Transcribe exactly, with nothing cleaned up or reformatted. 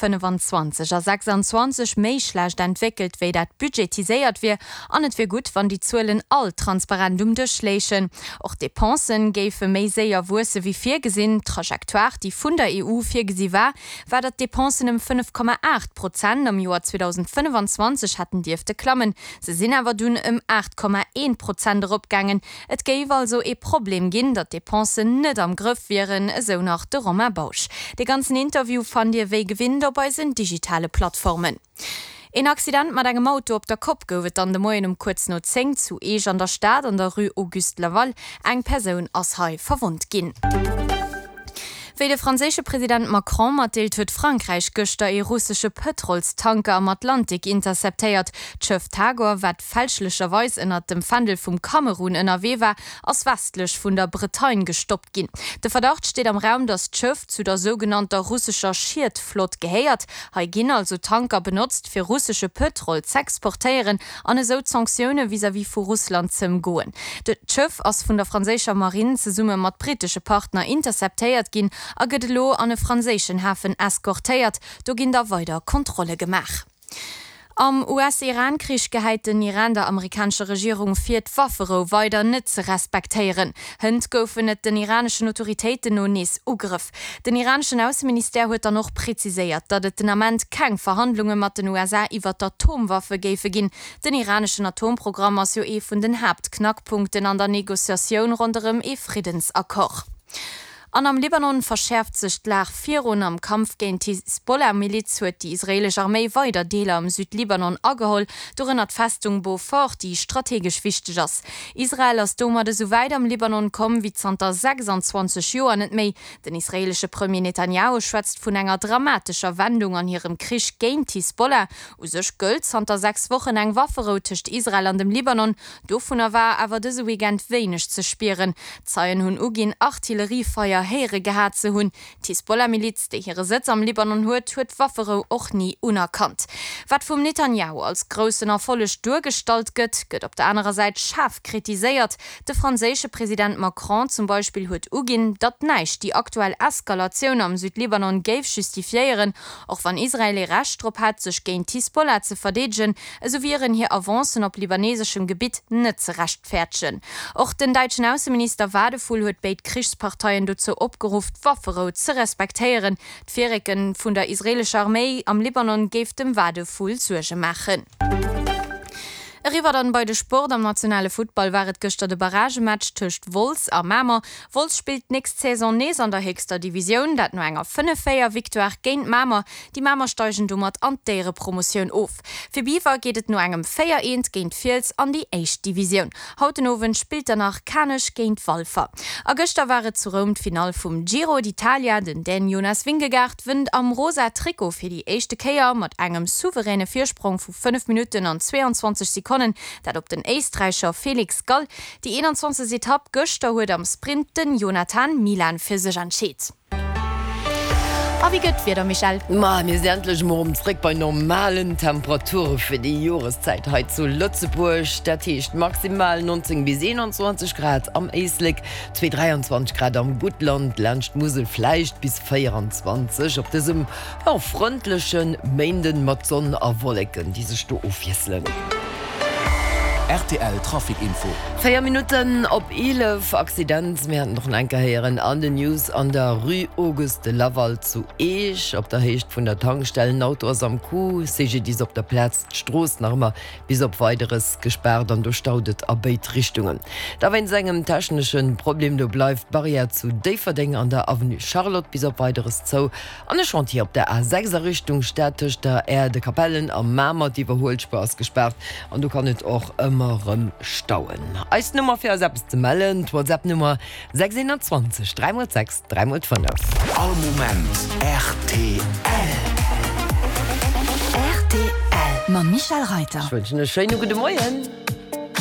fënnefenzwanzeg a sechsanzwanzeg méi schlecht entwéckelt, wéi dat budgetiséiert wier, an et wier gutt, wann déi Zuelen all transparent um Dësch léichen. Och d'Depensen géife méi séier wuesse wéi virgesinn. D'Trajectoire, déi vun der E U virgesi war, war, datt d'Depensen ëm fënnef Komma aacht Prozent am Joer zweedausendfënnefenzwanzeg hätten dierfte klammen. Se sinn awer dunn ëm aacht Komma eent Prozent eropgaangen. Et géif also ee Problem ginn, datt d'Depensen net am Grëff wieren, esou nach de Romain Bausch. De ganzen Interview fannt Dir wéi gewinnt op eisen digitale Plattformen. Een Accident mat engem Auto op der Kopp gouf et dann de Moien um kuerz no zéng zu Eech an der Stad an der Rue Auguste Laval. Eng Persoun ass hei verwonnt ginn. Wéi de franséische President Macron matdeelt, huet Frankräich gëschter ee russesche Pëtrolstanker am Atlantik interceptéiert. D'Schëff Tagor, wat fälschlecherweis ënnert dem Fändel vum Kamerun ënnerwee war, ass westlech vun der Bretagne gestoppt ginn. De Verdacht steet am Raum, datt d'Schëff zu der sougenannter russescher Schietflott gehéiert. Hei ginn also Tanker benotzt, fir russesche Pëtrol z'exportéieren an esou d'Sanktioune vis-à-vis vu Russland z'ëmgoen. D'Schëff ass vun der franséischer Marinn zesumme mat brittesche Partner interceptéiert ginn a gëtt elo an e franséischen Hafen eskortéiert. Do ginn da weider Kontrolle gemaach. Am U S-Iran-Krich gehäit den Iran der amerikanescher Regierung vir, d'Wafferou weider net ze respektéieren. Hënt goufen et den iraneschen Autoritéiten no nees Ugrëff. Den iraneschen Ausseministère huet dann och preziséiert, datt et den Ament keng Verhandlunge mat den U S A iwwer d'Atomwaffe géife ginn. Den iraneschen Atomprogramm ass jo ee vun den Haaptknackpunkten an der Negociatioun ronderëm ee Friddensaccord. An am Libanon verschäerft sech d'Lag virun. Am Kampf géint d'Hisbollah-Miliz huet déi israeelesch Arméi weider Deeler am Südlibanon ageholl, dorënner d'Festung Beaufort, déi strategesch wichteg ass. Israel ass domat esou wäit am Libanon komm wéi zanter sechsanzwanzeg Joer net méi. Den israeelesche Premier Netanjahu schwätzt vun enger dramatescher Wendung an hirem Krich géint d'Hisbollah. U sech gëllt zanter sechs Wochen eng Wafferou tëscht Israel an dem Libanon. Dovunner war awer dëse Weekend wéineg ze spieren. Zeien hunn uginn, Artilleriefeier héiere gehat ze hunn. D'Hisbollah-Miliz, déi hire Sëtz am Libanon huet, huet d'Wafferou och ni unerkannt. Wat vum Netanjahu als groussen Erfolleg duergestallt gëtt, gëtt op der anerer Säit schaarf kritiséiert. De franséische President Macron zum Beispill huet uginn, datt näischt déi aktuell Eskalatioun am Südlibanon géif justifiéieren. Och wann Israel ee Recht drop hätt, sech géint d'Hisbollah ze verdeedegen, esou wieren hir Avancen op libaneseschem Gebitt net ze rechtfäerdegen. Och den däitschen Ausseminister Wadephul huet béid Krichsparteien dozou opgeruff, d'Wafferou ze respektéieren. D'Virrécke vun der israeelescher Arméi am Libanon géif dem Wadephul Suerge maachen. Eriwwer dann bei de Sport. Am nationale Futtball war et gëschter de Barragematch tëscht Wolz a Mamer. Wolz spillt d'nächst Saison nees an der héchster Divisioun, dat no enger fënnef-véier Victoire géint Mamer. Déi Mamer steigen domat an d'Éierepromotioun of. Fir Biwer geet et no engem véier-eent géint Fiels an déi éischt Divisioun. Haut den Owend spillt dann nach Kanech géint Walfer. A gëschter war et zu Roum d'Finall vum Giro d'Italia. Den Dän Jonas Vingegaard wënnt am rosa Trikot fir déi éischte Kéier mat engem souveräne Virsprong vu fënnef Minutten an zweeanzwanzeg Sekonnen, dat op den Éisträicher Felix Gall. Déi eenanzwanzegst Etapp gëschter huet am Sprint den Jonathan Milan fir sech entscheet. A wéi gëtt d'Wieder, Michèle? Ma mir sinn endlech mol erëm zréck bei normalen Temperature fir déi Joreszäit hei zu Lëtzebuerg. Dat heescht maximal neunzéng bis eenanzwanzeg Grad am Éislek, zwee dräianzwanzeg Grad am Guttland, laanscht d'Musel vläicht bis véieranzwanzeg op dësem, jo, frëndleche Méinden mat Sonn a Wolleken, déi sech do ofwiesselen. R T L Trafic Info. Véier Minutten op eelef. Accident, mir haten och nach eng Kéier héieren an den News, an der Rue Auguste Laval zu Eech op der Héicht vun der Tankstell. En Auto ass am Coup, C G D I S op der Plaz, d'Strooss nach ëmmer bis op Weideres gespaart an do staut et a béid Richtungen. Da wéinst engem technesche Problem, do bleift d'Barrière zu Déifferdeng an der Avenue Charlotte bis op Weideres zou. An e Chantier op der A sechs a Richtung Stad tëscht der Aire de Capellen a Mamer, d'Iwwerhuelspuer ass gespaart an do kann et och ëmmer erëm stauen. Eis Nummer fir eis eppes ze mellen, d'WhatsApp-Nummer sechs eenanzwanzeg dräi mol sechs dräi mol fënnef. All Moment R T L. R T L mam Michèle Reiter. Ech wënschen e schéine gudde Moien.